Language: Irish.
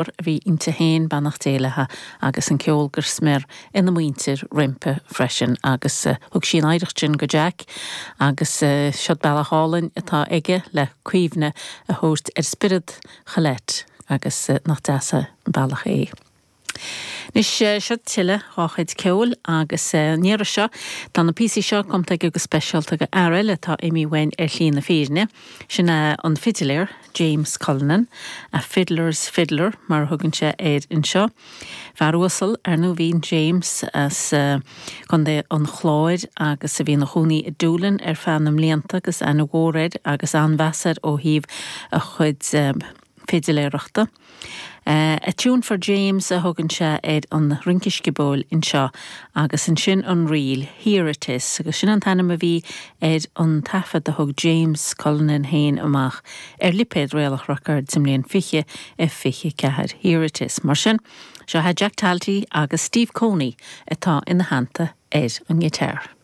A bhí inti féin, beannacht Dé léi, agus an ceol go smior ina muintir roimpi freisin agus thug sí an oidhreacht sin go Jack agus seod bealach álainn atá aige le cuimhne a thabhairt ar spiorad Cholette agus nach deas an bealach é. Anois seo tuilleadh dhá chuid ceoil agus an iarraidh seo tá na píosaí seo cumtha aige go speisialta do fhear eile atá imithe uainn ar shlí na fírinne, sin é an fidiléir James Cullinan, a fiddler's fiddler mar a thugann sé air anseo. Fear uasal, ar ndóigh, a bhí in James as Contae an Chláir agus a bhí ina chónaí i Doolin ar feadh na mblianta agus aithne mhór air agus an-mheas air ó thaobh a chuid fidiléireachta. A Tune for James a thugann sé ar an rince sciobóil anseo agus ansin an ríl Here It Is agus sin an t-ainm a bhí ar an taifead a thug James Cullinan féin amach ar lipéad Réalach Records sa mbliain 2024, Here It Is. Mar sin, seo é Jack Talty agus Steve Coney atá ina theannta ar an ngiotár.